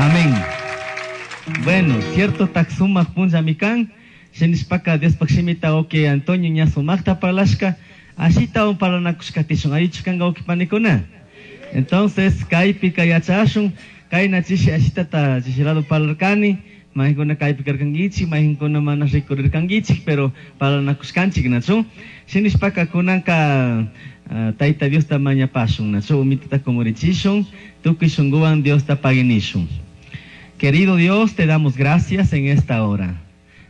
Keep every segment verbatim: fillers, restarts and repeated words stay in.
Amén. Bueno, cierto tak sumak punllami kan. Shinishpaka Diospaj shimita wawki Antonio ña sumakta parlashka, ashitawan parlanakushkatishun allichu kanka wawki panikuna. Entonces, kaypika yachashun, kayna chishi ashitata chishi lado parlarkani, mayqinkuna kaypi karkankichik, mayqinkuna mana rikurirkankichik, pero parlanakushkanchik, nachu? Shinishpaka kunanka uh, Tayta Diosta mañapashun, nachu? Umitata kumurichishun, tukuy shunkuwan Diosta paguinishun. Querido Dios, te damos gracias en esta hora.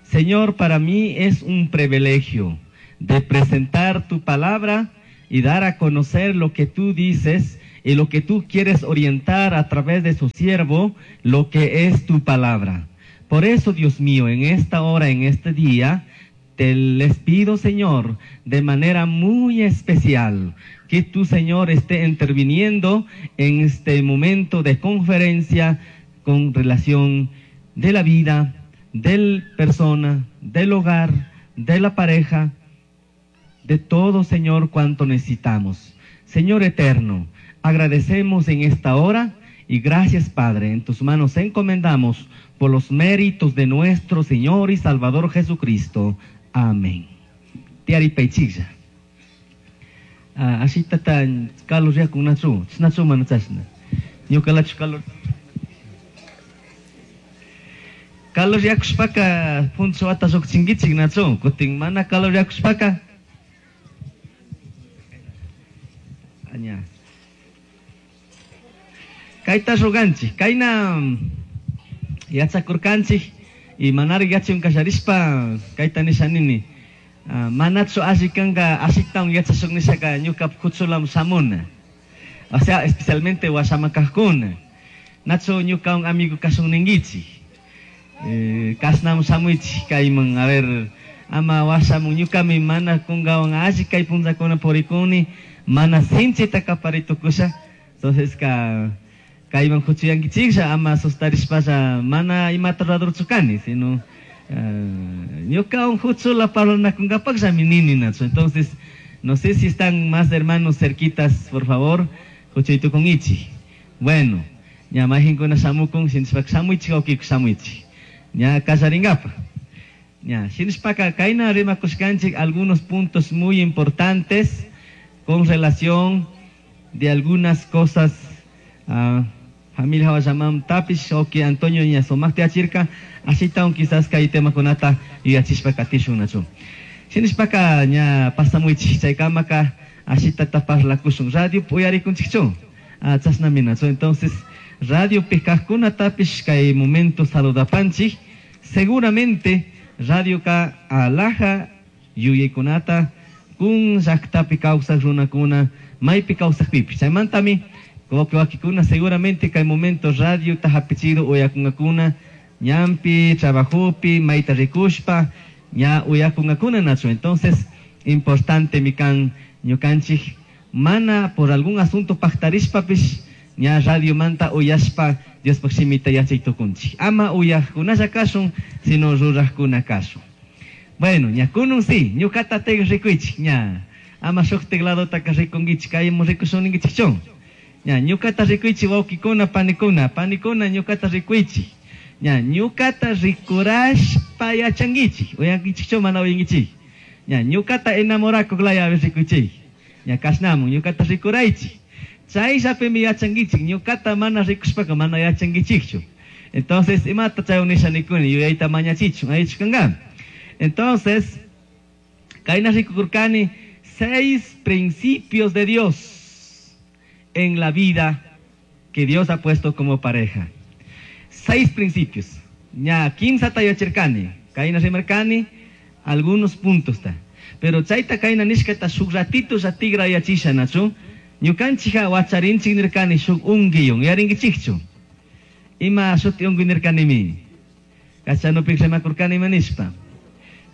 Señor, para mí es un privilegio de presentar tu palabra y dar a conocer lo que tú dices y lo que tú quieres orientar a través de su siervo, lo que es tu palabra. Por eso, Dios mío, en esta hora, en este día, te les pido, Señor, de manera muy especial, que tu Señor esté interviniendo en este momento de conferencia con relación de la vida, de persona, del hogar, de la pareja, de todo, Señor, cuanto necesitamos. Señor eterno, agradecemos en esta hora y gracias, Padre, en tus manos encomendamos por los méritos de nuestro Señor y Salvador Jesucristo. Amén. Tiaripaychiklla. Ashitata calor yaku nachu, nachu mana chashna. Ñuqalachu calor. Calor yakushpaka punchawata lluqchinkichik nachu, kutin mana calor yakushpaka. Aña. Kayta ruganchik, kayna yachakurkanchik y manari yachun kasharishpa kayta nisha nini. Uh, manachu alli kanka ashitawan yachashun nishaka ñuka kuchulam shamuna. O sea, especialmente washamakajkuna. Nachu ñuka un amigo kashun ninkichik. Eh, kasnam shamuichik kayman, a ver, ama washamun ñukami mana kunkawan alli kay punllakuna purikuni, mana sinchita kaparitukusha. Entonces ka kayman huchuyankichiklla ama asustarishpalla mana imata ruradurchu kani, sino ñukawan huchula parlanakunkapaqllami nini nachu. Entonces, no sé si están más hermanos cerquitas, por favor, huchuytukunkichik. Bueno, ña mayqinkuna shamukun, shinishpaka shamuichik wawkiku shamuichik. Ña kallarinkapa. Ña, shinishpaka kayna rimakushkanchik algunos puntos muy importantes con relación de algunas cosas. Uh, familia hawashamam tapish oki Antonio ña sumakta yachirka, ashitawan quizás kay temakunata yuyachishpa katishun nachu. Shinishpaka ña pasamuichik chaykamaka ashitata parlakushun radio uyarikunchikchu. Ah, chashnami nachu. Entonces, radio kajkuna tapish kay momento saludapanchik, seguramente radio ka alaja yuyaykunata kun llaqtapi kawsaq runakuna maypi kawsaqpipish. Chaymantami wakikuna seguramente kay momento radio hapichido uyakunkakuna ñanpi, trabajopi, mayta rikushpa ña uyakunkakuna nachu. Entonces, importante mi kan ñukanchik mana por algún asunto paqtarishpapish ña radio manta uyashpa Diospaj shimita yachay tukunchik. Ama uyaqkunalla kashun, sino ruraqkuna kashun. Bueno, ña kunun si, ñuqata teg rikuychik ña. Ama shuk tecladotaka rikunkichik, kaymu rikushunninkichikchu. Ña, ñuqata rikuychik wawkikuna, panikuna, panikuna ñuqata rikuychik. Ña, ñuqata rikurashpa yachankichik, uyankichikchu mana uyankichik. Ña, ñuqata enamorakuq laya rikuychik. Ña, kashnamun ñuqata rikuraychik. Chayllapimi yachankichik, ñuqata mana rikushpaka mana yachankichikchu. Entonces, imata chay nisha nikuni, yuyayta mañachichun, allichu kanka. Entonces, kayna rikukurkani seis principios de Dios en la vida que Dios ha puesto como pareja. Seis principios. Ña kimsata yachirkani, kayna rimarkani algunos puntos ta. Pero chayta kayna nishkata shuk ratito tigra yachisha nachu. Ñukanchikka wacharinchik nirkani shuk unguiyun, yarinkichikchu. Ima shuti unguy nirkanimi. Kachanupik rimakurkani ima nishpa.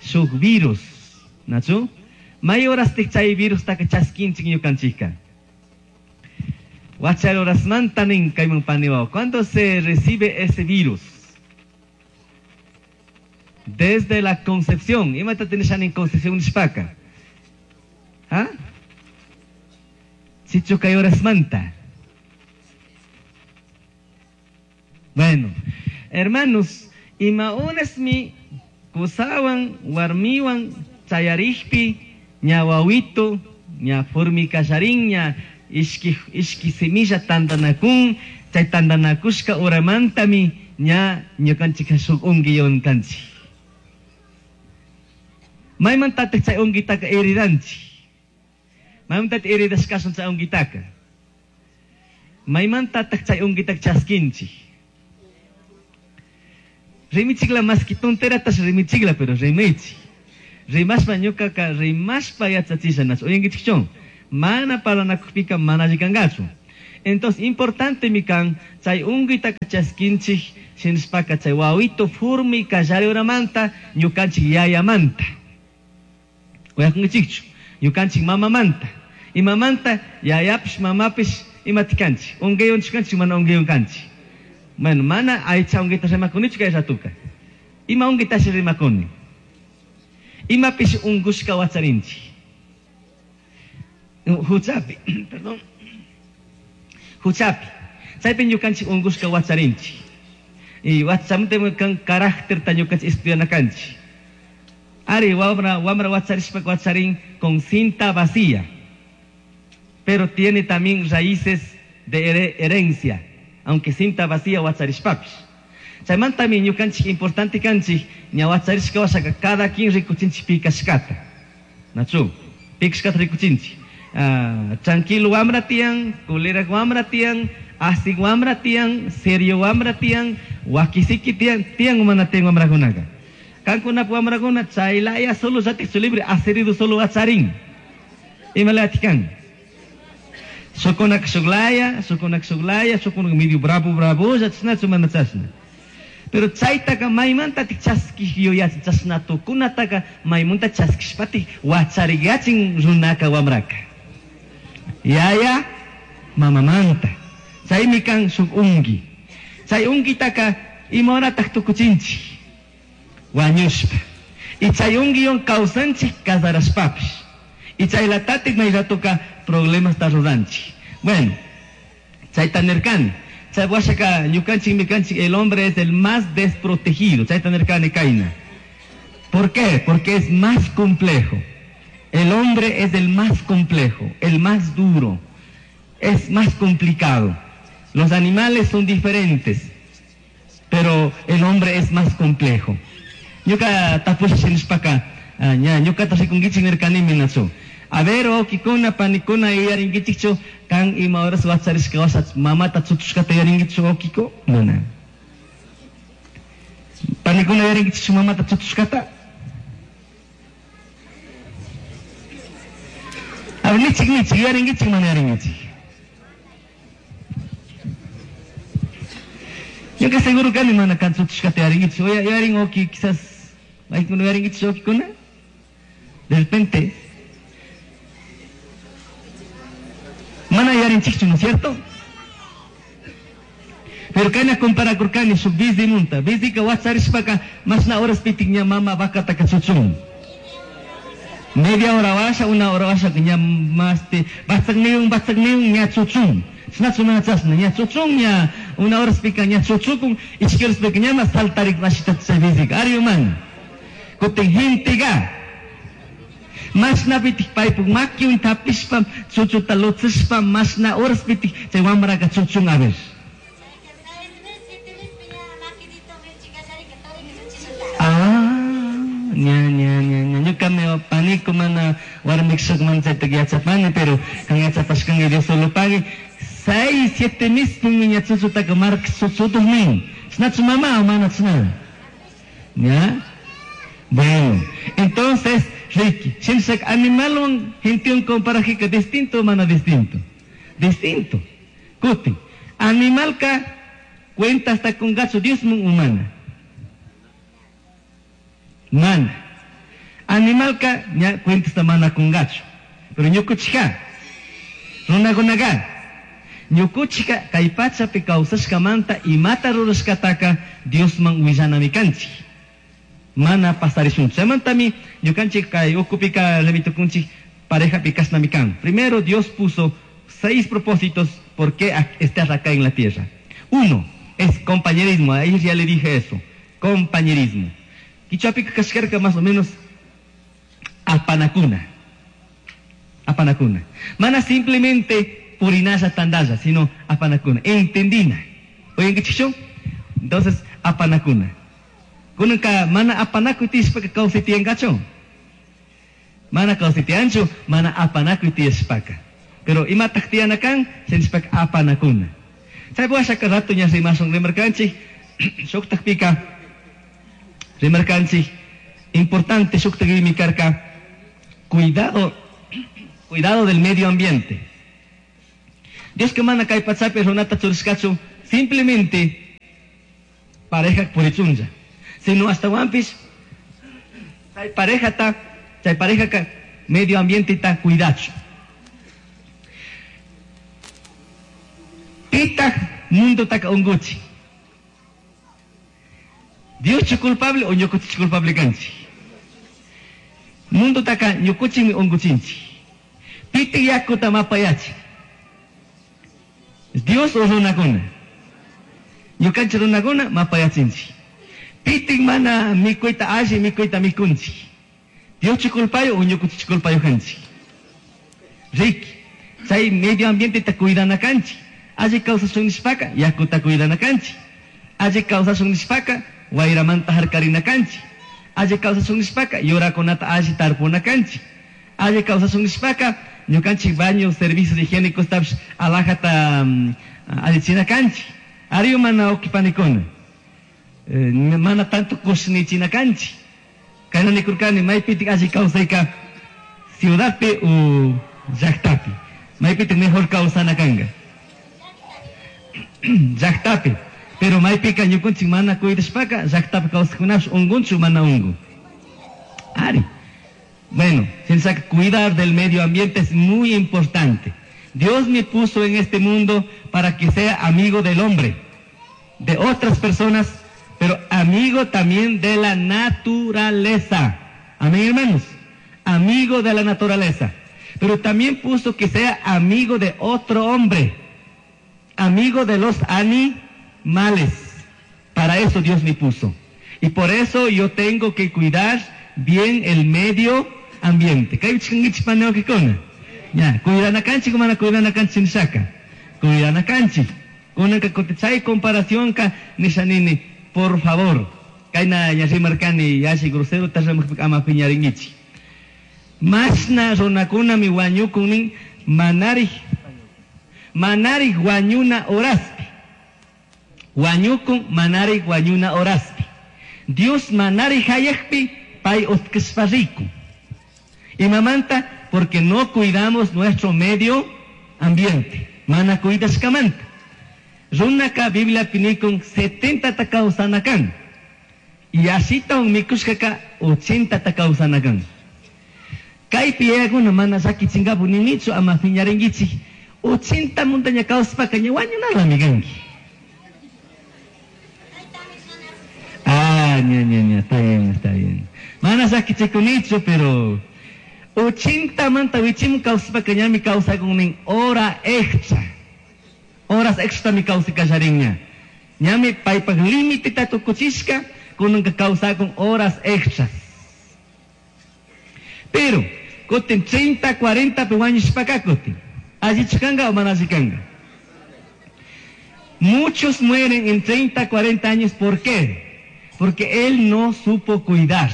Shuk virus, nachu. May horastik chay virustaka chaskinchik ñukanchikka. Wachar horasmanta nin kayman paniwaw. ¿Cuándo se recibe ese virus? Desde la concepción. Imata tinishan concepción nishpaka. ¿Ah? Chicho kay horasmanta. Bueno, hermanos, ima horasmi kusawan warmiwan chayarikpi ña wawito ña formicallarin ña ishki ishki semilla tandanakun chay tandanakushka uramantami ña ñukanchik shuk unguiwan kanchik. Maymantataq chay unguitaka heredanchik. Maymantataq heredashkasun chay unguitaka. Maymantataq chay unguitaka chaskinchik. Rimichikla maski tonteratas rimichikla, pero rimaychik. Rimashpa ñukaka rimashpa yachachisha nachu uyankichikchu. Mana parlanakukpika mana alli kankachu. Entonces, importante mi kan, chay unguitaka chaskinchik, shinashpaka chay wawito furmi kallari uramanta, ñukanchik yayamanta. Uyakunkichikchu, ñukanchik mamamanta. Imamanta, yayapish, mamapish, imatikanchik. Unguiywan kanchik, mana unguiywan kanchik. Bueno, mana aycha unguita rimakunichu kay ratuka. Ima unguitashi rimakuni. Imapish ungushka wacharinchik. Huchapi, perdón. Huchapi. Chaypi ñukanchik ungushka wacharinchik. Y wachamante kan carácter ta ñukanchik estudiana kanchik. Ari wamra wamra wacharishpa wacharin con cinta vacía. Pero tiene también raíces de herencia, aunque cinta vacía wacharishpapish. Chaymantami ñukanchik importante kanchik ña wacharishka washaka cada quien rikuchinchik pikashkata. Nachu, pikashkata rikuchinchik. Uh, tranquilo wamra tiyan, kulera wamra tiyan, asik wamra tiyan, serio wamra tiyan, wakisiki tiyan, tiyan umana tiyan wamrakunaka. Kankunap wamrakuna chaylaya solo yatik su libre, acerido solo wacharin. Imalatikan. Shukunak shuklaya, shukunak shuklaya, shukunak medio bravo bravo, chashnachu mana chashna. Pero chaytaka maymantatik chaskik yuyachin, chashna tukunataka maymanta chaskishpatik wachariyachin runaka wamraka. Yaya mamamanta. Chaymi kan shuk ungi. Chay ungitaka imahoratak tukuchinchik. Wañushpa. Y chay ungiwan kawsanchik casarashpapish. Y chaylatatik mayratuka problemas ta ruranchik. Bueno, chayta nirkani. Chay washaka ñukanchik mikanchik, el hombre es el más desprotegido. Chayta nirkani kayna. ¿Por qué? Porque es más complejo. El hombre es el más complejo, el más duro, es más complicado. Los animales son diferentes, pero el hombre es más complejo. Ñuka tapusha shinishpaka, ña ñukata rikunkichik nirkanimi nachu. A ver, wawkikuna, panikuna, yuyarinkichikchu, kan ima horas wacharishka washa mamata chutushkata yuyarinkichu wawkiko? Mana. Panikuna yuyarinkichikchu mamata chutushkata? A ver, nichik nichik, yuyarinkichik mana yuyarinkichik. Ñuka seguro kani mana kan chutushkata yuyarinkichik. Yuyarin wawki quizás, maykuna yuyarinkichik wawkikuna? De repente, mana yuyarinchikchu, ¿no es cierto? Pero kayna comparakurkani shuk bizimunta. Bizika wacharishpaka mashna horas pitik ña mama vacataka chuchun. Media hora washa, una hora washa ña maste batsakniun batsakniun ña chuchun. Chashnachu mana chashna ña chuchun ña una horas pika ña chuchukun, ishki horas pika ña mas saltarik mashita chay bizika. Ari man. Kutin gentega. Mashna pitik paypuk makiwan tapishpa chuchuta lutsishpa mashna horas pitik chay wamraka chuchun a ver. Ah, ña ña ña ña ñuka me panico mana warmikshuk man chayta yachapani, pero kan yachapashkanki Dios solo pague. Seis, siete meses ña chuchutaka mark chuchutuq nin. Chashnachu mama o mana chashna? ¿Ya? Bueno, entonces Ricky, shinshak animalwan gentewan comparajika distinto o mana distinto? Distinto. Kutin, animalka cuenta hasta con gacho Dios mun humana. Mana. Animalka ña cuenta hasta mana con gacho. Pero ñukuchika, runakunaqa, ñukuchika kay pachapi kawsashkamanta imata rurashkataka Diosman willanami kanchik. Mana pasarishun. Chaymantami ñukanchik kay ukupika lemitukunchik parejapi kashnami kan. Primero Dios puso seis propósitos por qué estás acá en la tierra. Uno, Es compañerismo, ahí ya le dije eso. Compañerismo. Quichuapika kashkarka más o menos apanakuna. Apanakuna. Mana simplemente purinalla tandalla, sino apanakuna. Entendina. Oyen qué chicho? Entonces, apanakuna. Kunanka mana apanakuy tiyashpaka kawsay tiyankachu. Mana kawsay tiyanchu, mana apanakuy tiyashpaka. Pero imataq tiyana kan, sinishpaka apanakuna. Chay washaka rato ña rimashun rimarkanchik, shuktaqpika rimarkanchik, importante shuktaq imi karka, cuidado, cuidado del medio ambiente. Dios que mana kay pachapi runata churishkachu, simplemente pareja purichunlla, sino hasta wampis, chay pareja ta, chay pareja ka medio ambiente ta cuidachu. Pitaq mundo taka unguchi. Dios chu culpable o ñukuchi culpable kanchi. Mundo taka ñukuchimi unguchinchi. Pitaq yakuta mapayachi. Dios o runakuna. Ñukanchi runakuna mapayachinchi. Pitaq mana mikuyta alli mikuyta mikunchi. Dios chu culpayo o ñukuchi culpayo kanchi. Riki, chay medio ambiente ta cuidana kanchi. Alli kawsashun nishpaka yakuta cuidana kanchi. Alli kawsashun nishpaka wayramanta harkarina kanchi. Alli kawsashun nishpaka yurakunata alli tarpuna kanchi. Alli kawsashun nishpaka ñukanchik baño servicios higiénicos tapish alajata um, allichina kanchi. Ariu mana ukipanikuna. Eh, mana tanto kushnichina kanchi. Kayna nikurkani maypitik alli kawsayka ciudadpi u llaqtapi. Maypitik mejor kawsana kanka. Llaqtapi. Pero maypika ñukunchik mana cuidashpaka llaqtapi kawsaqkunapish ungunchu mana ungun. Ari. Bueno, piensa que cuidar del medio ambiente es muy importante. Dios me puso en este mundo para que sea amigo del hombre, de otras personas, pero amigo también de la naturaleza. Amén, hermanos. Amigo de la naturaleza. Pero también puso que sea amigo de otro hombre, amigo de los animales. Para eso Dios me puso. Y por eso yo tengo que cuidar bien el medio ambiente. Ya, cuidana kanchi, kumana cuidana kanchi nishaka. Cuidana kanchi. Kunanka chay comparación ka nishanini, por favor. Kayna yashimarkani yashi grosero tashamukpik ama piñaringichi. Mashna runakuna mi wañukunin manarij manarij wañuna horaspi. Wañukun manarij wañuna horaspi. Dios manarij hayakpi pay utkishpa riku. Imamanta, porque no cuidamos nuestro medio ambiente. Mana cuidashkamanta. Runaka Biblia pinikun setenta takawsanakan. Y así un mikushkaka ochenta takawsanakan. Kaypi yayakuna mana llakichinkapu ninichu ama piñarinkichik. ochenta montaña kawsapaka ña wañunalami kanki. Ah, ña, ña, ña, está bien, está bien. Mana llakichikunichu, pero ochenta manta wichim kawsapaka ñami kawsakunin hora extra. Horas extra mi kawsakallarinña. Ñami paypak límite tukuchishka, kunanka kawsakun horas extras. Pero, kutin treinta, cuarenta pe wañushpaka kutin. Allichu kanka o mana alli kanka. Muchos mueren en treinta, cuarenta años. ¿Por qué? Porque él no supo cuidar.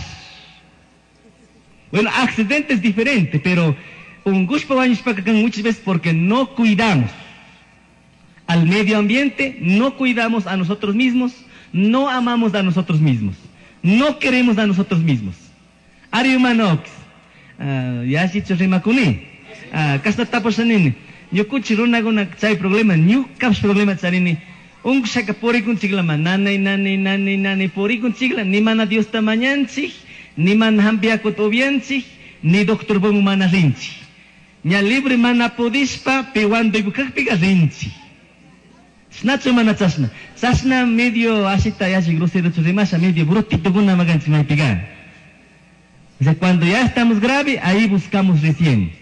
Bueno, accidente es diferente, pero un gusto muchas veces porque no cuidamos al medio ambiente, no cuidamos a nosotros mismos, no amamos a nosotros mismos, no queremos a nosotros mismos. Ari humanox, yashichu rimakuni, kashna tapushanini, ñukuchi runakuna chay problema, ñukapish problema charini. Unkushaka purikunchiklama, nanay, nanay, nanay, nanay, purikunchikla, ni mana Diosta mañanchik, ni mana hampiyakuta upianchik, ni doctor bomu mana rinchik. Ña libre mana pudishpa, piwanduypukakpika rinchik. Chashnachu mana chashna. Chashna medio ashita yashi grosero rimasha, medio brutitokuna makanchik maypika. O sea, cuando ya estamos grave, ahí buscamos recién.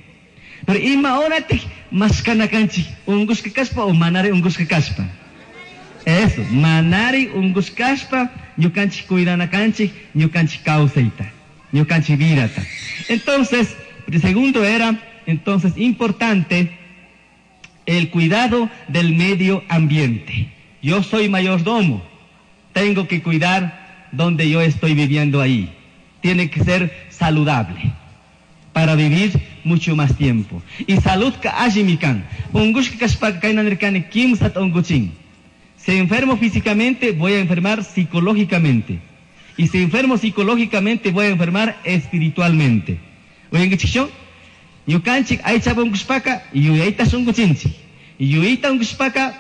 Pero ima horatik mashkana kanchik, unkushka kashpa o manare unkushka kashpa. Eso, manari ungushkashpa ñukanchik cuidana kanchik, ñukanchik kawsayta, ñukanchik vidata. Entonces, el segundo era, entonces, importante el cuidado del medio ambiente. Yo soy mayordomo, tengo que cuidar donde yo estoy viviendo ahí. Tiene que ser saludable para vivir mucho más tiempo. Y salud ka allimi kan. Ungushka kashpaka kayna nirkani kimsata unguchin. Si enfermo físicamente, voy a enfermar psicológicamente. Y si enfermo psicológicamente, voy a enfermar espiritualmente. Uyankichikchu? Ñukanchik aychapi ungushpaka yuyayta unguchinchik. Yuyayta ungushpaka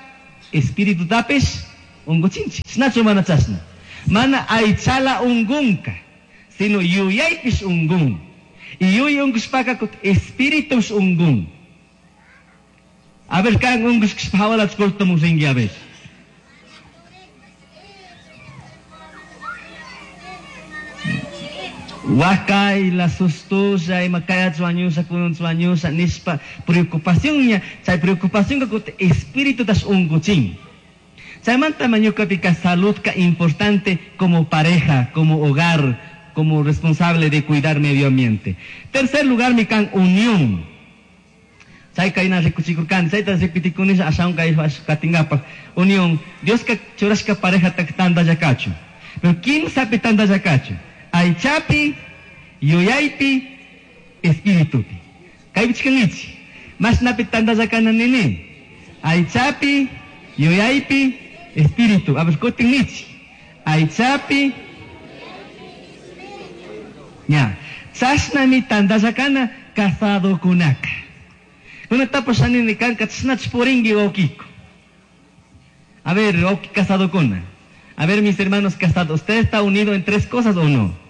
espiritutapish unguchinchik. Chashnachu mana chashna. Mana aychala ungunka, sino yuyaypish ungun. Y yuyay ungushpaka espíritus ungun. A ver, kan ungushkashpa hawalach cortamun rinki, a ver. Wakay la sustuya ima kaya suañusa kunun suañusa nispa preocupación ña chay preocupación ka kuti espíritu tas unguchin. Chaymanta mañukapi salud ka importante como pareja, como hogar, como responsable de cuidar medio ambiente. Tercer lugar mi kan unión. Chay kayna rikuchikurkani, chayta repitikunisha ashawan kay katingapaq unión. Dios ka churashka pareja tak tantallakachu. Pero kimsapi tantallakachu. Aychapi, yuyaypi, espiritupi. Kaypi chikankichik. Mashnapi tantallakana nini. Aychapi, yuyaypi, espíritu. A ver, kutin nichik. Aychapi, ña. Chashnami tantallakana casadokunaka. Kunatapash nini kanka chashnach purinki wawkiko. A ver, wawki casadokuna. A ver, mis hermanos casados, ¿usted está unido en tres cosas o no?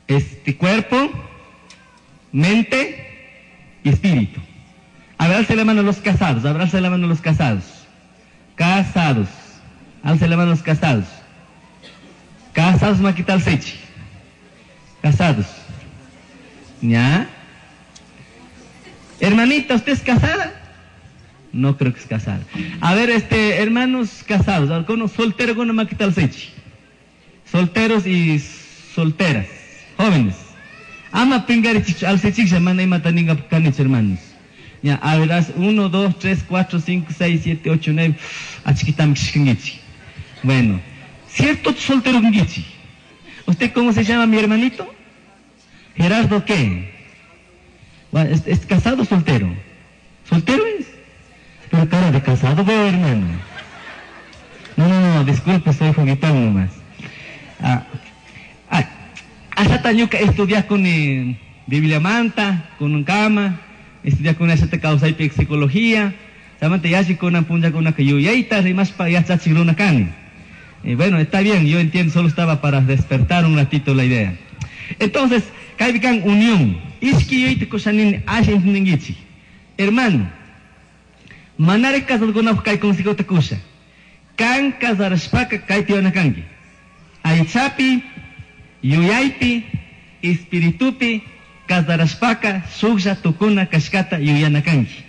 Este cuerpo, mente y espíritu. A ver, alce la mano los casados, a ver, alce la mano los casados. Casados. Alce la mano los casados. Casados, maquital sechi. Casados. ¿Ya? Hermanita, ¿usted es casada? No creo que es casada. A ver, este, hermanos casados, algunos solteros con maquital sechi. Solteros y solteras, jóvenes. Ama pingarichik, alcechik, mana imata ninga kanich, hermanos. Ya, a ver, uno, dos, tres, cuatro, cinco, seis, siete, ocho, nueve. Achiquitam xingichi. Bueno, cierto soltero ngichi. ¿Usted cómo se llama, mi hermanito? Gerardo, ¿qué? Bueno, ¿es, es casado o soltero? ¿Soltero es? Pero cara de casado veo, hermano. No, no, no, disculpe, soy juguetón nomás. Ah, ah, hasta ñuka estudiar con eh, Biblia manta, con un cama, estudiar con esa causa y psicología, samante yashi con una punja con una yuyayta, rimaspa yachachiruna kani. Eh, bueno, está bien, yo entiendo, solo estaba para despertar un ratito la idea. Entonces, kaypikan unión. Ishki yuyayta kushanin asha entendichi. Hermano, manare casadokunapaq kay consejota kusha. Kan casarashpaka kayta yuyana kanki. Aychapi, yuyaypi, espiritupi, casarashpaka shuklla tukuna kashkata yuyana kanki.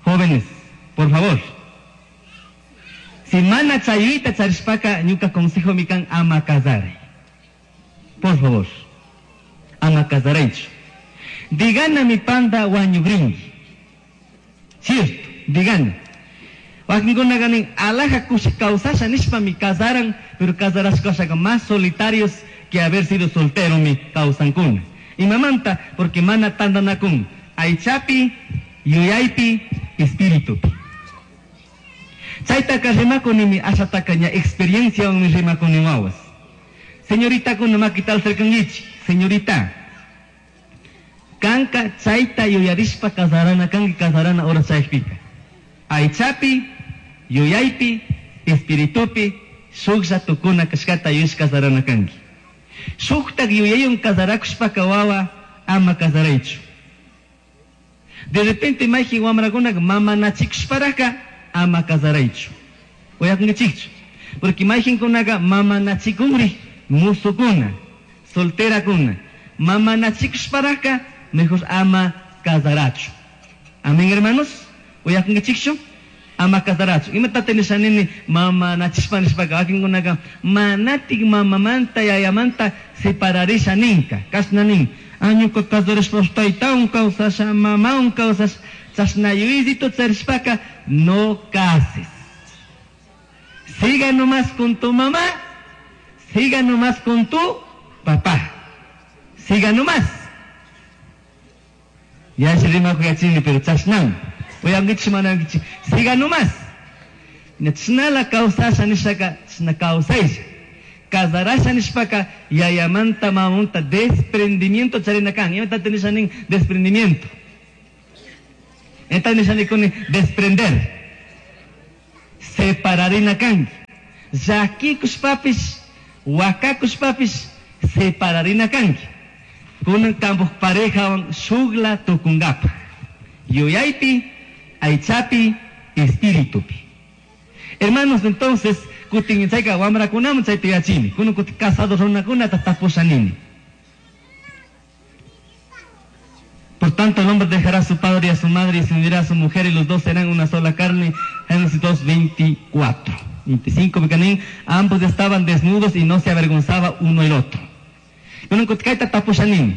Jóvenes, por favor. Si mana chayuyta charishpaka ñuka consejo mi kan ama casaray. Por favor. Ama casaraychu. Digana mi panda wañugrinki. Cierto, digana. Wakinkuna ganin alaja kusha kawsasha nishpa mi casaran, pero casarashkashaka más solitarios que haber sido soltero mi kawsankuna. Imamanta, porque mana tandanakun. Aychapi, yuyaypi, espiritupi. Chaytaka rimakuni mi ashataka ña experiencia mi rimakuni wawas. Señorita kuna makital cercangichi, señorita. Kanka chayta yuyarishpa casarana kanki casarana hora chaypika. Aychapi, yuyaypi, espiritupi, shuklla tukuna kashkata yuyash casarana kanki. Shuktak yuyayun casarakushpaka wawa ama casaraychu. De repente mayjin wamrakunaka mamanachikushparaka ama casaraychu. Uyakunkichikchu. Porque mayjinkunaka mamanachikunri musukuna, solterakuna. Mamanachikushparaka mejor ama casarachu. Amén, hermanos. Uyakunkichikchu. Ama casarachu. Imatata nisha nini mama nachishpa nishpaka wakinkunaka manatik mamamanta yayamanta separarisha ninka. Kashna nin. Añuka casarashpa taytawan kawsasha, mamawan kawsasha, chashna yuyayzito charishpaka no cases. Siga nomás con tu mamá, siga nomás con tu papá. Siga nomás. Ya se rimaku yachini, pero chashnan. Uyangichi manangichi. Siga nomás. Chnala kawsasha nishaka, chna kawsaysha. Casarasha nishpaka, yayamanta mamanta desprendimiento charina kan. Imata nisha nin desprendimiento. Enta nisha nikuni desprender. Separarina kan. Llakikushpapis, wakakushpapis, separarina kanki. Kunan kampuj parejawan shukla tukungapaj. Yuyaypi, aychapi, espiritupi. Hermanos, entonces, kutin chayka wamrakunaman chayta yachini. Kunan kutin casado runakunata tapushanini. Por tanto, el hombre dejará a su padre y a su madre y se unirá a su mujer y los dos serán una sola carne. Génesis dos, veinticuatro, veinticinco, porque ambos estaban desnudos y no se avergonzaba uno el otro. Kunan kutin kayta tapushanini.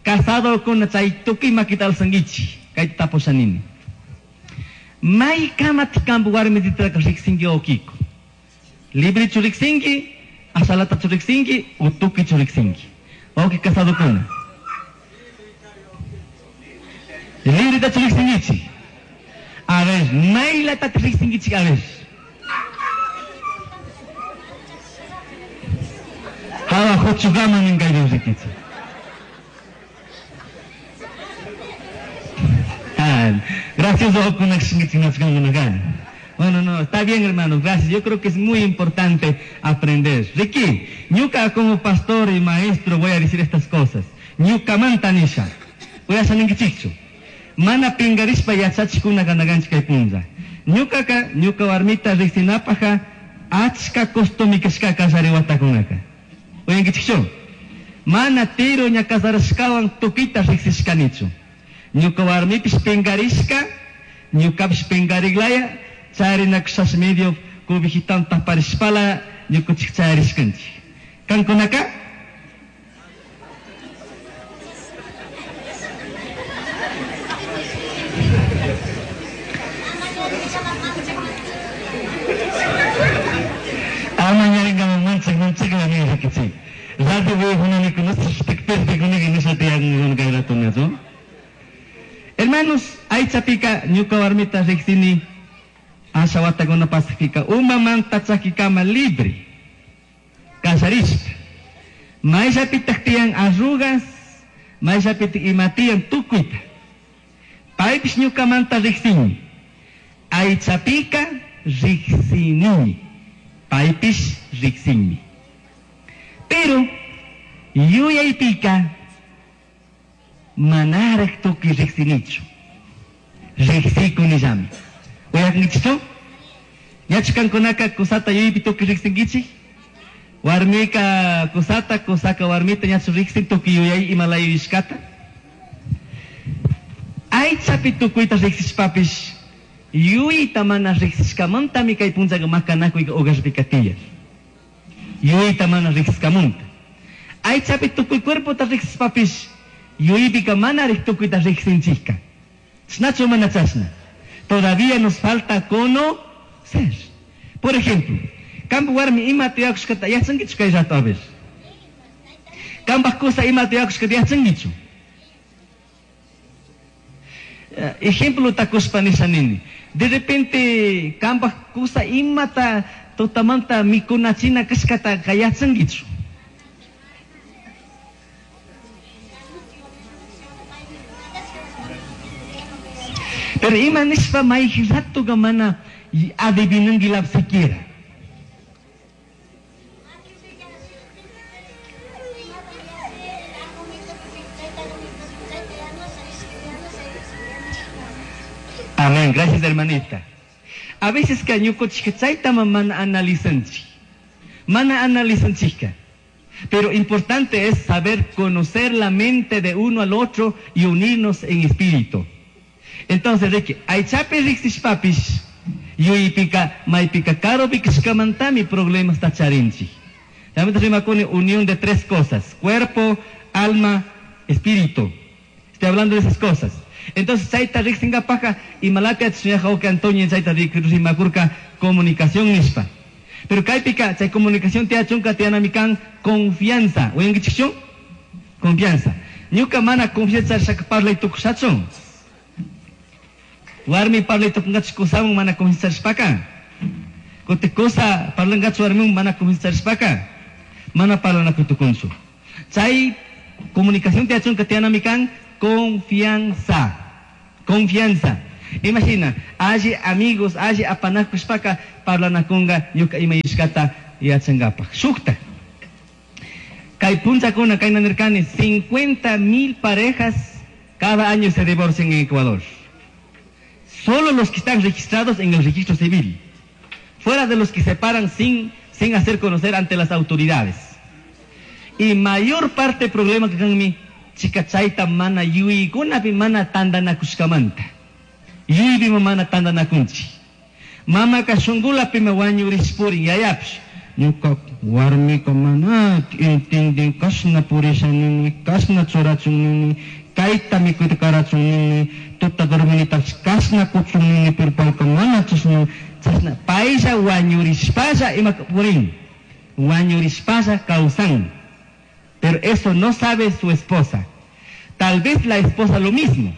Casado con chay tukuy makita alsangichi. Kayta tapushanini. May kamati kampu warmititaka riksinki okiko. Libre churiksinki, asalata churiksinki, utuki churiksinki. Oki casado kuna. Libre ta churiksinkichi. A ver, mayla ta churiksinkichi, a ver. Hawa huchugama ninkay rikichi. Gracias, bueno, no, está bien, hermanos, gracias. Yo creo que es muy importante aprender. Ricky, ñuka como pastor y maestro voy a decir estas cosas. Ñuka mantanisha. Voy a salir chicho. Mana pingarishpa yachachikuna kanaganchika punza. Ñukaka, ñuka warmita riksinapaja, achka costumikashka kasariwatakunaka. Oyankichikchu. Mana tiro ña kasarashkawan tukita riksishkanichu. Ñuka warmipish pingarishka, ñukapish pingariglaya, charinakushas medio kubijitan taparishpala, ñukuchik charishkanchik. Kankunaka? Ama ñaringaman manchak manchak la rikichik. Rato Hermanos, aychapika ñuka warmita riksini asha watakuna pasakpika umamanta chakikama libre kasarishpa mayllapitaq tiyan arrugas mayllapitik ima tiyan tukuyta paypish ñukamanta riksini aychapika riksinimi paypish riksinmi pero yuyaypika manaraq tukuy riksinichu riksikunillami. Uyakunkichikchu? Ñachu kankunaka kusata yuyaypi tukuy riksinkichik? Warmika kusata, kusaka warmita ñachu riksin tukuy yuyay imalaya yuyashkata? Aychapi tukuyta riksishpapish yuyayta mana riksishkamantami kay punchaka makanakuyka hogarpika tiyan. Yuyayta mana riksishkamanta. Aychapi tukuy cuerpota riksishpapish yuyaypika mana tukuyta riksinchikka. Chashnachu mana chashna. Todavía nos falta conocer. Por ejemplo, kampa warmi ima tiyakushkata yachankichu kay rato a ver. Kampa kusa ima tiyakushkata yachankichu. Ejemplo takushpa nisha nini. De repente kampa kusa imata tutamanta mikunachina kashkata yachankichu. Pero ima nishpa mayqin ratuqa mana adivinanki siquiera. Amén, gracias hermanita. A veces que ñuqanchik chayta mana analizanchik. Mana analizanchikqa. Pero importante es saber conocer la mente de uno al otro y unirnos en espíritu. Entonces, Ricky, aychapi riksishpapish, Yuypika maypika karupi kashkamantami problemas ta charinchik. También rimakuni unión de tres cosas: cuerpo, alma, espíritu. Estoy hablando de esas cosas. Entonces, chayta riqsinkapaqqa imalata yachashuñaqa Antonio chayta rimakurka comunicación nishpa. Pero kaypika chay comunicación tiyachunka tiyanami kan confianza. Uyankichikchu? Confianza. Ñuka mana confianza charishaka parlay tukushachu. Warmi parlay tukunkachu kusawan mana confianza charishpaka. Kuti kusa parlankachu warmiwan mana confianza charishpaka. Mana parlanakuy tukunchu. Chay comunicación tiyachunka tiyanami kan confianza. Confianza. Imagina, alli amigos, alli apanakushpaka parlanakunga ñuka ima yuyashkata yachankapaj. Shukta. Kay punchakuna kayna nirkani cincuenta mil parejas cada año se divorcian en Ecuador. Solo los que están registrados en el registro civil. Fuera de los que se separan sin, sin hacer conocer ante las autoridades. Y mayor parte del problema que kan chica chayta mana yuyaykunapi mana tantanakushkamanta. Yuyaypimi mana tantanakunchik. Mamaka shunkulapimi wañurishpurin yayapish. Ñuka warmika mana entendin kashna purisha nini, kashna churachun nini, kayta mikuyta karachun nini, tuta dorminitapish kashna kuchun nini, pero payka mana chashna, chashna paylla wañurishpalla ima purin, wañurishpalla kawsan. Pero eso no sabe su esposa. Tal vez la esposa lo mismo.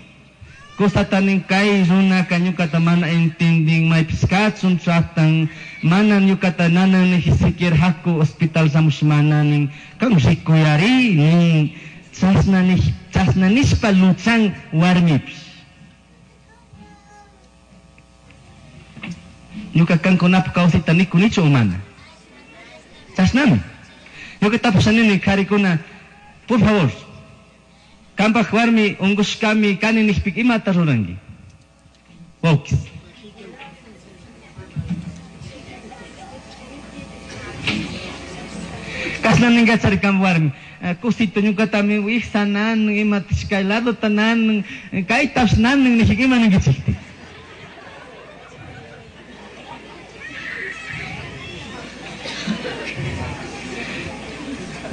Cosa tanin kay runaka ñukata mana entendin maypis kachun tratan mana ñukata nanan ni siquiera haku hospital shamush mana nin kan rikuyari nin chashna ni chashna nishpa luchan warmipish. Ñuka kankunapaj kawsayta nikunichu o mana? Chashnami. Ñuka tapushanini karikuna, por favor, kanpaj warmi unkushkami kani nijpika imata ruranki? Wawkis. Kashna ninkachari kan warmi, kusito ñukatami wiksa nanan, imatash kay ladota nanan, kaytapish nanan nijika ima ninkichikti?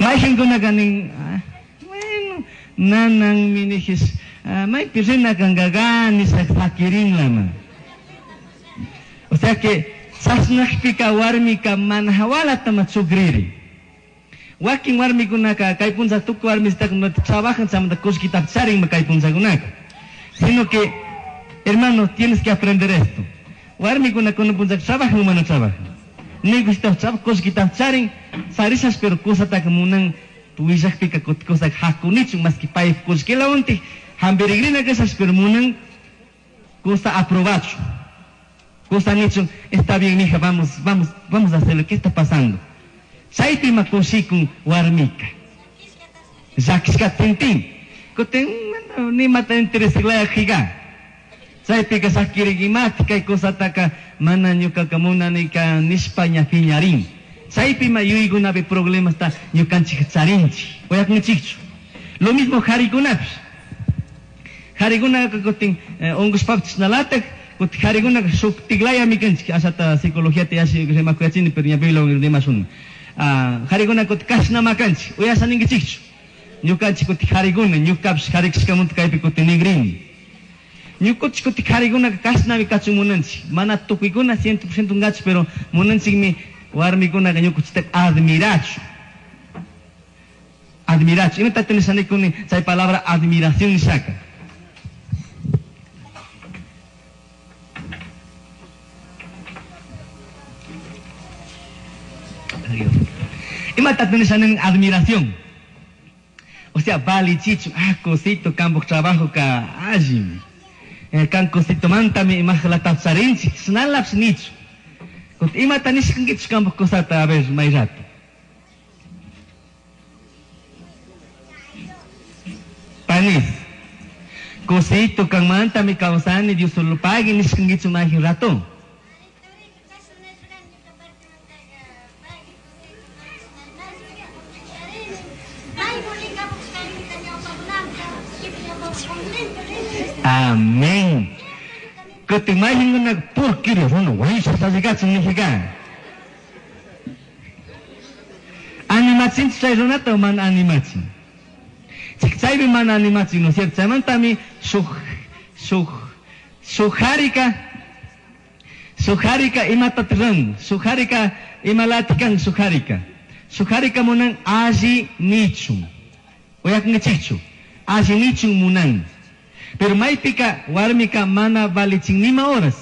Mayqinkunaka nin, bueno, nananmi nijis, maypi rina kankaqa nisha sakirinlama. O sea que chashnakpika warmika mana hawalata ma chukriri. Wakin warmikunaka kay puncha tukuy warmisitaka trabajan chaymanta kullkitapish charinma kay punchakunaka. Sino que, hermano, tienes que aprender esto. Warmikuna kunan punchaka trabajan o mana trabajan. Negocitapish trabajan, kullkitapish charin, charishash pero kusataka munan willakpika kusaka hakunichun más que pay kullkilawantik hampirigrina kashash pero munan kusa aprobachu. Kusa nichun, está bien mija, vamos, vamos, vamos a hacer lo que está pasando. Chaypi ma kushikun warmika. Llakishka tintin. Kutin nimata interesaklaya jiga. Chaypika sakirik kay kusataka mana ñukaka munanika nishpa ña piñarin. Chaypi ma yuyaykunapi problemasta ñukanchik charinchik. Uyakunchikchu. Lo mismo harikunapish. Harikunaka kutin unkushpapish chashnalatak, kutin harikunaka shuktiklayami kanchik. Ashata psicologiata yashi rimakuyachini, pero ña Bibliawan rimashun. Harikuna kutin kashnama kanchik. Uyasha ninkichikchu. Ñukanchik kutin harikuna, ñukapish harikashkamanta kaypi kutin nigrini. Ñukuchik kutin harikunaka kashnami kachun munanchik. Mana tukuykuna ciento por ciento ngachu, pero munanchikmi warmikunaka ñukuchitaka admirachu. Admirachu. Imatata nishanikuni chay palabra admiración nishaka? Imatata nishanin admiración? O sea, valichichu, ah, cosito, kanpaj trabajo ka allimi. Kan cosito mantami imajlata charinchik, shnalapish nichu. Imata nishkankichu kanpaj cosata, a ver, may rato. Panis. Cosito kanmantami kawsani, Dios solo pagui nishkankichu may rato. Amén. Kutin mayhinkunaka porquería runa wañushpa nijiga. Animachin chay runata o mana animachin. Chaypi mana animachin, ¿no es cierto? Chaymantami shuk shuk shuk harika shuk harika imata ruran, shuk harika imalatikan shuk harika. Shuk harika munan alli nichun. Uyakunkichikchu. Alli nichun munan. Pero maypika warmika mana valichin nima horas.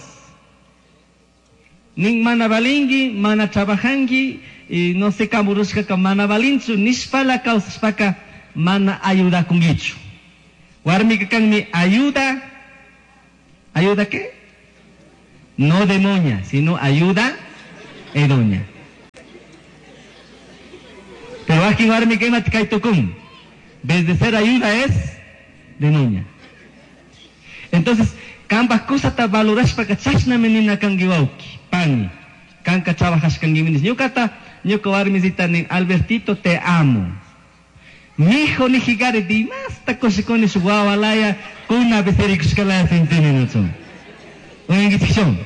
Nin mana valingi, mana trabajangi, y no sé kamurushkaka mana valinchu, nishpala kawsashpaka mana ayudakungichu. Warmika kanmi ayuda, ¿ayuda qué? No demonia, sino ayuda edoña. Pero aquí warmika imata kaytukun. Vez de ser ayuda es demonia. Entonces, kambaj kusata valorashpaka chashnami nina kanki wawki, pani. Kanka trabajashkanki minis. Ñukata, ñuka warmisita nin, Albertito, te amo. Mijo nijigari dimasta kushikuni shuk wawalaya, kuna becerikushkalaya sintini nuchun. Uyankichikshun.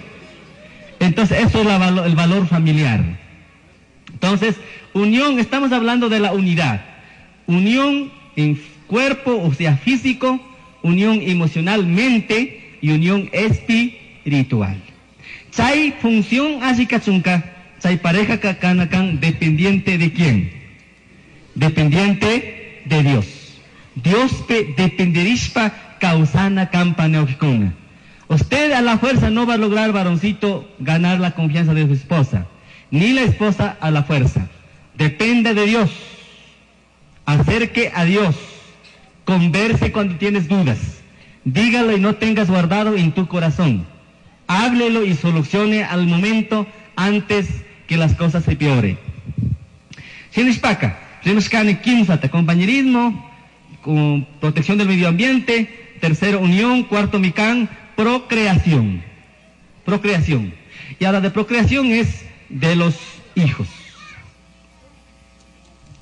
Entonces, eso es la valo, el valor familiar. Entonces, unión, estamos hablando de la unidad. Unión en cuerpo, o sea, físico, unión emocionalmente y unión espiritual. Chay función así kachunka, chay pareja kakanakan dependiente de quién? Dependiente de Dios. Dios pe dependerishpa causana kampa neokikuna. Usted a la fuerza no va a lograr, varoncito, ganar la confianza de su esposa, ni la esposa a la fuerza. Depende de Dios. Acerque a Dios. Converse cuando tienes dudas. Dígalo y no tengas guardado en tu corazón. Háblelo y solucione al momento antes que las cosas se peoren. Shinishpaka, rimashkani kimsata, compañerismo, con protección del medio ambiente, tercero unión, cuarto mikan, procreación. Procreación. Y ahora de procreación es de los hijos.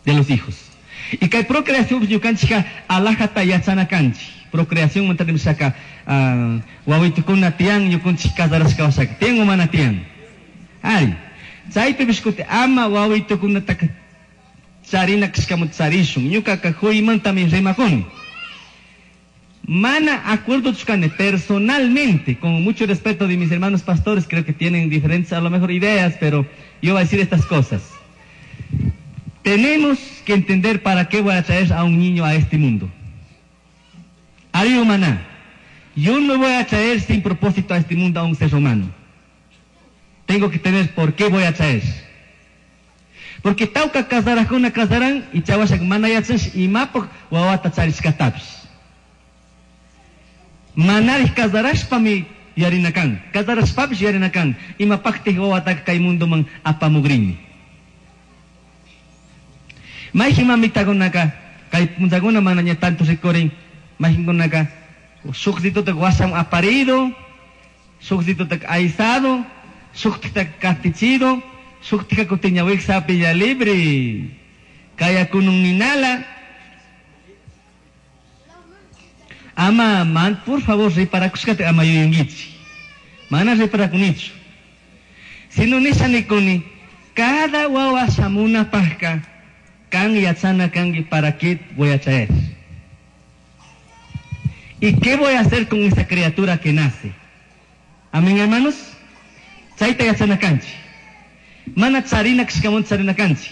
De los hijos. Y que procreación ñukanchika alajata yachana kanchi. Procreación mantarimshaka wawitukuna tiyan ñukunchik casarashka washaka. Tiyan o mana tiyan. Ay, chaypi bishkuti ama wawitukunataka charina kashkamu charishun. Ñukaka huymantami rimakuni. Mana acuerdo chukane personalmente, con mucho respeto de mis hermanos pastores, creo que tienen diferentes a lo mejor ideas, pero yo voy a decir estas cosas. Tenemos que entender para qué voy a traer a un niño a este mundo. Ari maná. Yo no voy a traer sin propósito a este mundo a un ser humano. Tengo que tener por qué voy a traer. Porque tauka casarajuna casarán y chawashak manayachas y mapok wawata charishkatapis. Manarij casarashpami yarinakan. Casarashpapis yarinakan. Imapakti wawata kay mundo man apamugrini. Mayhin mamitakunaka, kay punchakuna manaña tanto rikurin, mayhinkunaka, shuqsituta wasam aparido, shuqsituta aizado, shuqtita katichido, shuqtika kutiñawik sapilla libre, kaya kunun ninala. Ama, man, por favor, riparakushkata ama yuyunkichi. Mana riparakunichu. Sino nishanikuni, cada wawa shamuna pajka, kan yachana kangi, ¿para qué voy a traer? ¿Y qué voy a hacer con esa criatura que nace? Amén, hermanos. Chayta yachana kanchi. Mana charina kishkamon charina kanchi.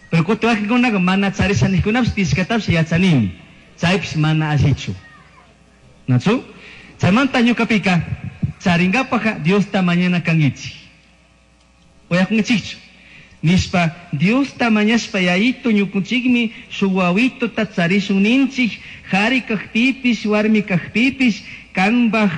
Pero kuti wakinkunaqa mana charisha nijkunapish tishkatapish yachanimi. Chaypish mana allichu. ¿Nachu? Chaymanta ñuqapika charinkapaqa Diosta mañana kankichik. Uyakunkichikchu. Nishpa Diosta mañashpa yayito ñukunchikmi shuk wawituta charishun ninchik hari kajpipish warmi kajpipish kanpaj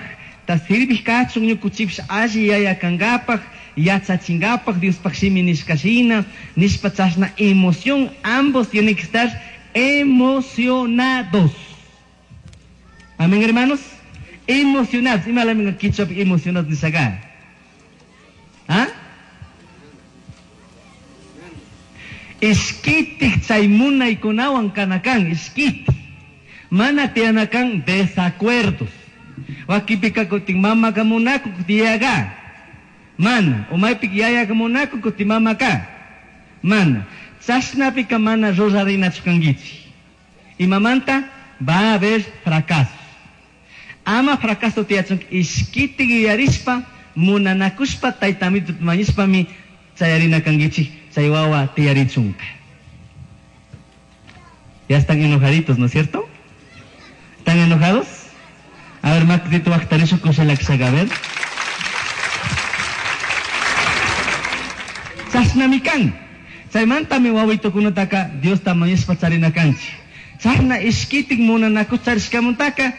ta sirvij kachun ñukunchikpish alli yaya kankapaj yachachinkapak Diospaj shimi nishkashina nishpa chashna emoción, ambos tienen que estar emocionados. Amén, hermanos. Emocionados. Ima kichwapi emocionados nishaka. ¿Ah? Ishkitik chay munaykunawan kanakan, ishkitik. Mana tiyanakan desacuerdos. Wakinpika kutin mamaka munakun kutin yayaka. Mana. O maypika yayaka munakun kutin mamaka. Mana. Chashnapika mana rurarinachu kankichik. Imamanta va a haber fracasos. Ama fracaso tiyachun ishkitik yuyarishpa munanakushpa tayta mañashpami chayarina kankichik chay wawa tiyarichunka. Ya están enojaditos, ¿no es cierto? ¿Están enojados? A ver, Macdito, waqtarishu kushalakshaka, a ver. Chashnami kan. Chaymantami wawitukunataka Diosta mañashpa charina kanchik. Chashna ishkitik munanakush charishkamantaka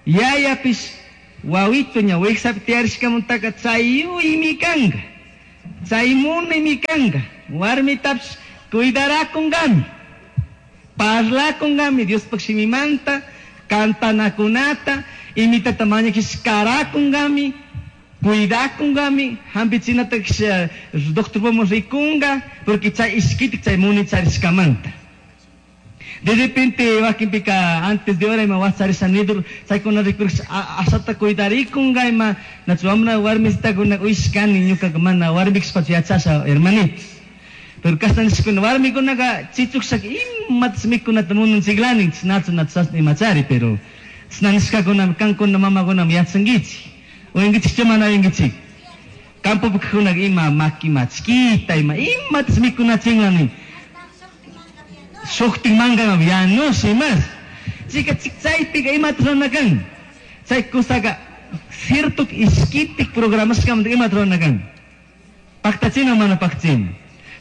yayapish wawito ña wiksapi tiyarishkamantaka chayuymi kanka. Chay munaymi kanka. Warmitapish cuidarakunkami. Parlakunkami Diospaq shimimanta, cantanakunata, imitata mañakish karakunkami, cuidakunkami, hampichinata doctorpaman rikunka, porque chay ishkitik chay munay charishkamanta. De repente wakinpika antes de hora ima wacharisha nidur chaykuna rikurish ashata cuidarikunka ima nachu wamra warmisitakuna uyshkani ñukaka mana warmikashpachu yachasha hermanitos. Pero kashna nishkuna warmikunaka chichukshaka imatas mikunata munanchiklanin nachu nachu chashna imachari, pero chashna nishkakunami kankuna mamakunami yachankichik. Uyankichikchu mana uyankichik? Campopikunaka ima maki machkita ima imatas mikunachinlanin. Shuktin mangan yanush imas. Chika chaypika imata rurana kan. Chay kusaka cierto ishkitik programashkamanta imata rurana kan. Paktachina mana paktachina.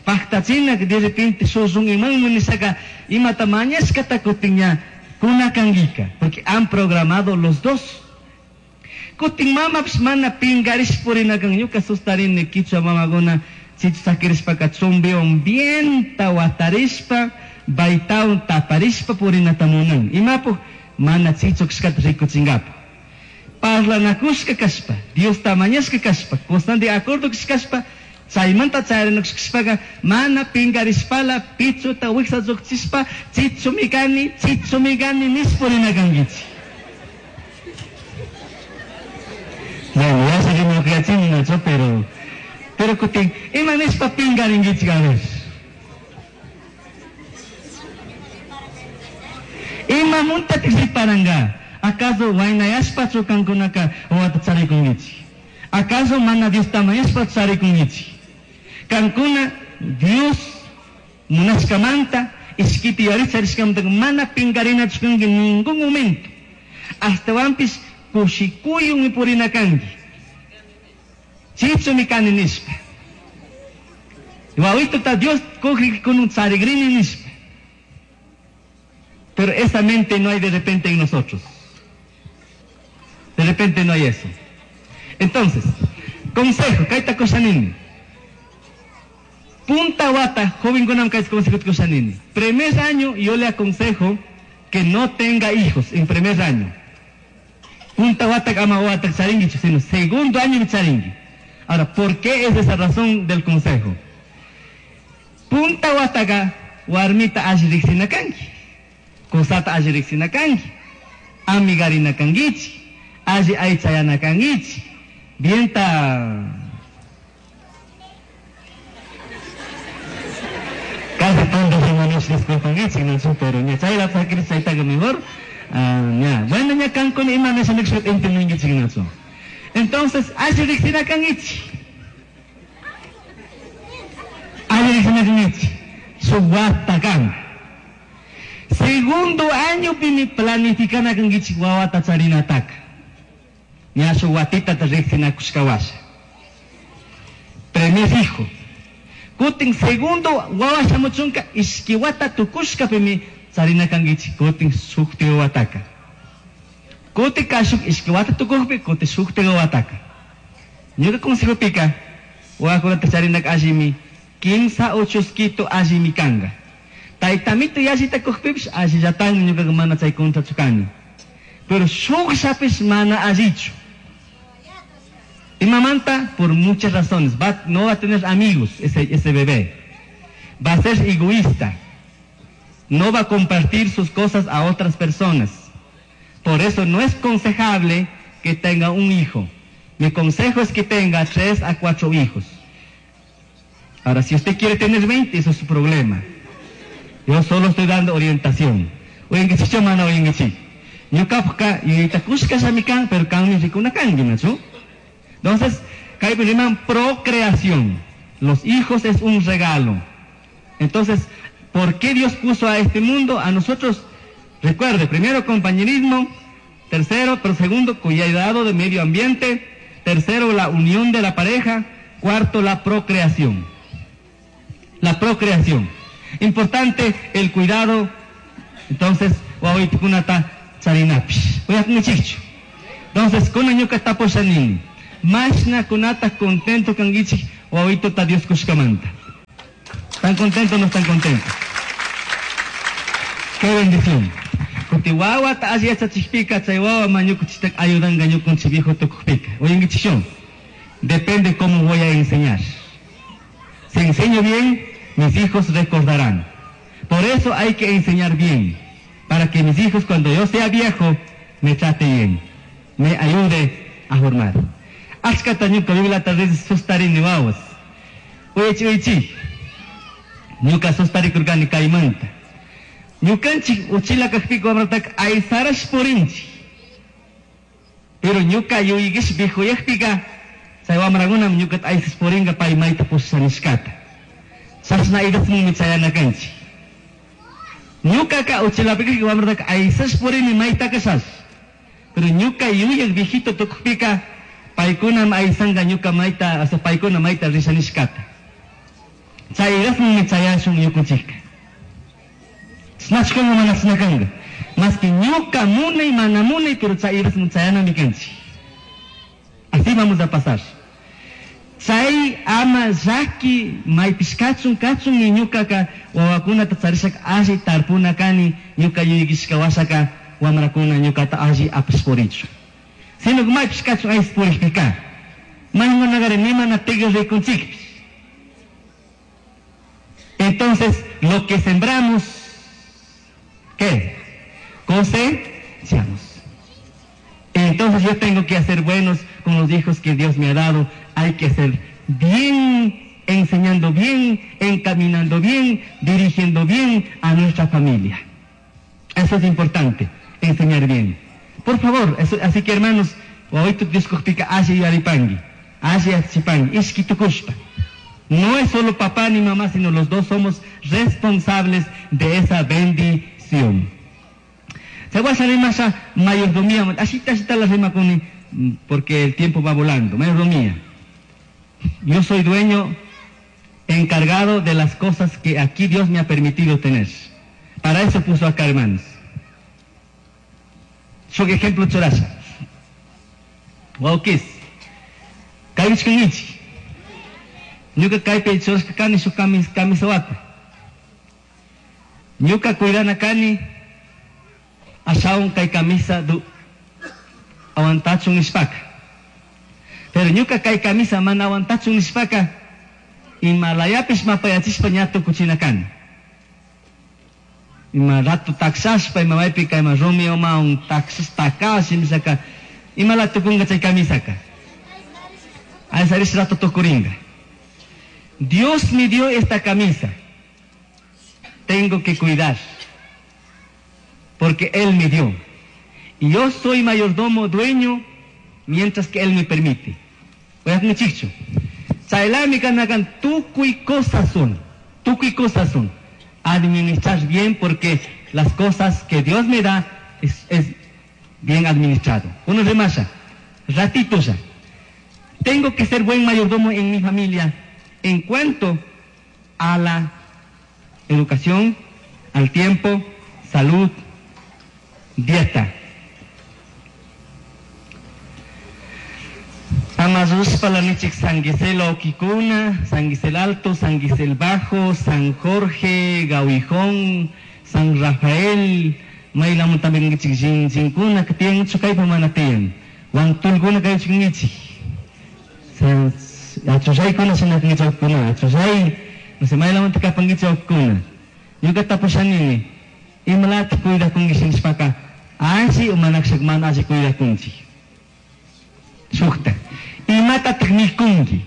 Paktachina de repente shushun imanmi nishaka imata mañashkata kutin ña kunakankika. Porque han programado los dos. Kutin mamapish mana pinkarish purinakan. Ñuka sustarini kichwa mamakuna chichu sakirishpaka chumbiwan bienta watarishpa baytawan taparishpa purinata munan. Imapuj mana chichu kashkata rikuchinkapa. Parlanakushka kashpa, Diosta mañashka kashpa, constante acuerdo kashpa, chaymanta chayarinakushkashpaka mana pinkarishpala pichuta wiksa lluqchishpa chichumi kani, chichumi kani nishpa purinakankichik. Bueno, ya sé que me lo nacho, pero pero kutin ima nishpa pinkarinkichik a ver. Ima muntatik riparanka. Acaso waynayashpachu kankunaka wawata charikunkichik? Acaso mana Diosta mañashpa charikunkichik? Kankuna Dios munashkamanta ishkiti yari charishkamanta mana pinkarinachu kanki ningún momento. Ashtawanpish kushikuyunmi purina kanki. Chichumi kani nishpa. Wawituta Dios kunun charigrini nishpa. Pero esa mente no hay de repente en nosotros. De repente no hay eso. Entonces, consejo, kaita koshanini. Punta wata, joven kunam kaita consejo koshanini. Primer año yo le aconsejo que no tenga hijos en primer año. Punta wata ama wata charingui, sino segundo año charingui. Ahora, ¿por qué es esa razón del consejo? Punta wataka warmita alli riqsina kanki. Kusata alli riqsina kanki. Amigarina kankichik. Alli aychayana kankichik. Bienta casi tanto hermanos disculpankichik, no, pero ña chayla sakir chaytaqa mejor. Ña, bueno ña kankuna ima nisha nishpa entendinkichik nachu. Entonces, alli riqsina kankichik. Alli riqsina kankichik. Shuk wata kan. Segundo año pimi planificana kankichik wawata charinataka. Ña shuk watita riqsinakushka washa. Primer hijo. Kutin segundo wawa shamuchunka ishki wata tukushka pimi charina kankichik kutin shukti wataka. Kutin kashuk ishki wata tukukpi kutin shukti wataka. Ñuka consejopika wawakunata charinaka allimi kimsa o chusquito allimi kanka. Taytamito yallita kukpipish allillatanmi ñukaqa mana chay contrachu kani. Pero shukllapish mana allichu. Imamanta por muchas razones. Va, no va a tener amigos ese, ese bebé. Va a ser egoísta. No va a compartir sus cosas a otras personas. Por eso no es aconsejable que tenga un hijo. Mi consejo es que tenga tres a cuatro hijos. Ahora, si usted quiere tener veinte, eso es su problema. Yo solo estoy dando orientación. Uyankichik mana uyankichik. Ñuqapaqqa yuyayta kushkashami kan, pero kanmi rikuna kanki, ¿no? Entonces, kaypi riman procreación. Los hijos es un regalo. Entonces, ¿por qué Dios puso a este mundo a nosotros? Recuerde, primero compañerismo, tercero, pero segundo, cuidado del medio ambiente, tercero, la unión de la pareja, cuarto, la procreación. La procreación. Importante el cuidado. Entonces, wawitukunata charinapish. Uyakunkichikchu. Entonces, kunan ñuka tapushanini. Mashna kunata contento kankichik wawituta Dios kushkamanta. ¿Están contentos o no están contentos? Qué bendición. Kuti wawata alli yachachikpika chay wawa ñukanchikta ayudanga ñukanchik viejo tukukpika. Uyankichikchu. Depende cómo voy a enseñar. Si enseño bien, mis hijos recordarán. Por eso hay que enseñar bien, para que mis hijos cuando yo sea viejo, me trate bien, me ayude a formar. Achkata ñuka Bibliata sustarini wawas. Uyachi uyachi. Ñuka sustarikurkani kaymanta. Ñukanchik uchila kakpika wamrataka aysarash purinchik. Pero ñuka yuyikish viejuyakpika, chay wamrakunam ñukata aysas purinka pay mayta pushanishkata. Chashna idasmanmi chayana kanchik. Ñukaka uchilapika wamrataka aysash purini mayta kashash. Pero ñuka yuyak viejito tukukpika, paykunam aysanka ñuka mayta, o sea, paykuna mayta rishanishkata. Chay idasmanmi chayashun ñukanchikka. Chashnachkanka mana chashna Más que ñuka munay mana munay, pero chay idasman chayanami kanchik. Así vamos a pasar. Chay ama llaki maypish kachun kachun ni ñukaka wawakunata charishaka alli tarpuna kani ñuka yuyakishka washaka wamrakuna ñukata alli apash purichun. Sino maypish kachun aysas purikpika. Maykunakari nimana tigre rikunchikpish. Entonces, lo que sembramos, ¿qué? Cosechamos. Entonces yo tengo que hacer buenos con los hijos que Dios me ha dado. Hay que hacer bien, enseñando bien, encaminando bien, dirigiendo bien a nuestra familia. Eso es importante, enseñar bien. Por favor, eso, así que hermanos, wawitu Dioskujpika alli yuyaripangui, alli yachachipangui, ishki tukushpa. No es solo papá ni mamá, sino los dos somos responsables de esa bendición. Se va a salir más a mayordomía, así está la rima con porque el tiempo va volando, mayordomía. Yo soy dueño, encargado de las cosas que aquí Dios me ha permitido tener. Para eso puso acá, hermanos. Soy ejemplo churasha. Waukis. Kayuchkangichi. Ñuka kaypi churashka kani shuk kamis, kamisawata. Ñuka cuidana kani ashawan kay camisa du aguantachun nishpaka. Pero ñuka kay camisa mana aguantachun nishpaka imalayapish mapayachishpa ña tukuchina kani. Ima rato taxashpa ima maypika ima rumi umawan taxas takash imashaka imala tukunga chay camisaka. Aysarish rato tukuringa. Dios me dio esta camisa. Tengo que cuidar. Porque Él me dio. Y yo soy mayordomo, dueño, mientras que Él me permite. Uyakunkichikchu. Chaylami kanakan tukuy cosas son. Tukuy cosas son. Administrar bien porque las cosas que Dios me da es, es bien administrado. Uno remasha. Ratito ya. Tengo que ser buen mayordomo en mi familia en cuanto a la educación, al tiempo, salud, dieta. Amazuspa la nichik San Gisel Oquicuna, San Gisel Alto, San Gisel Bajo, San Jorge, Gauijón, San Rafael, maylamun también nichik Jinjinkuna, que tienen chukaypa mana tiyan. Wantulkuna kay chik Achusaykuna sinakingichawkuna, achusay, no sé, maylamun tikapangichawkuna. Ñuka tapushanini, imalata cuidakunki nishpaka, alli o manakshak mana alli cuidakunchik. Shukta. Imatataj mikunki?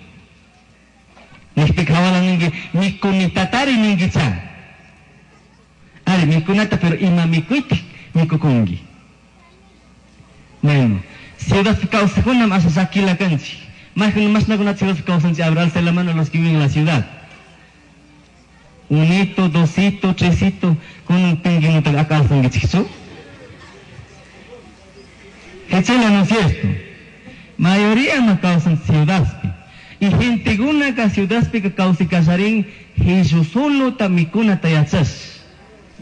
Nijpika hawala ninki mikunitatari ninkicha. Ari mikunata pero ima mikuytik mikukunki. Bueno, ciudad kawsajkunam asha llakila kanchik. Mayqin mashnakuna ciudad kawsanchik, a ver, alce la mano los que viven en la ciudad. Unito, dosito, tresito, kunan pinkinutaka kawsankichikchu. Hechela, ¿no es cierto? Mayoría no kawsan ciudadpi. Y gentekunaka ciudadpika kawsikallarin Jesusolota mikunata yachash.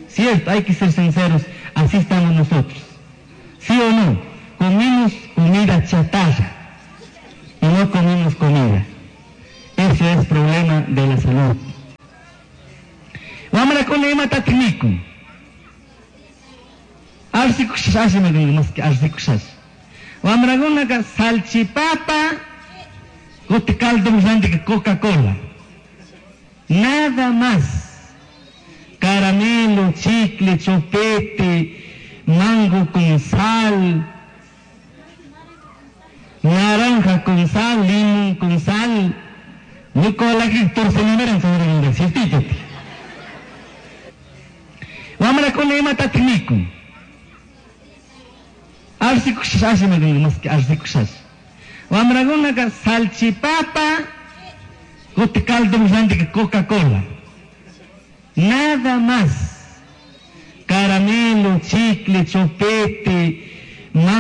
Cierto, hay que ser sinceros, así estamos nosotros. ¿Sí o no? Comimos comida chatarra y no comimos comida. Eso es problema de la salud. Wamrakuna imatatik mikun. Arsikushas maski arsikushas. Wamrakunaka salchipapa, kutin caldo rantika Coca-Cola. Nada más. Caramelo, chicle, chupete, mango con sal, naranja con sal, limón con sal. Nicolás torcelimeran sobre el ciertito. Wamrakuna imatatik mikun. Arsikushas maski arsikushas. Wamrakunaka salchipapa, kutin caldo rantika Coca-Cola. Nada más. Caramelo, chicle, chupete, mango.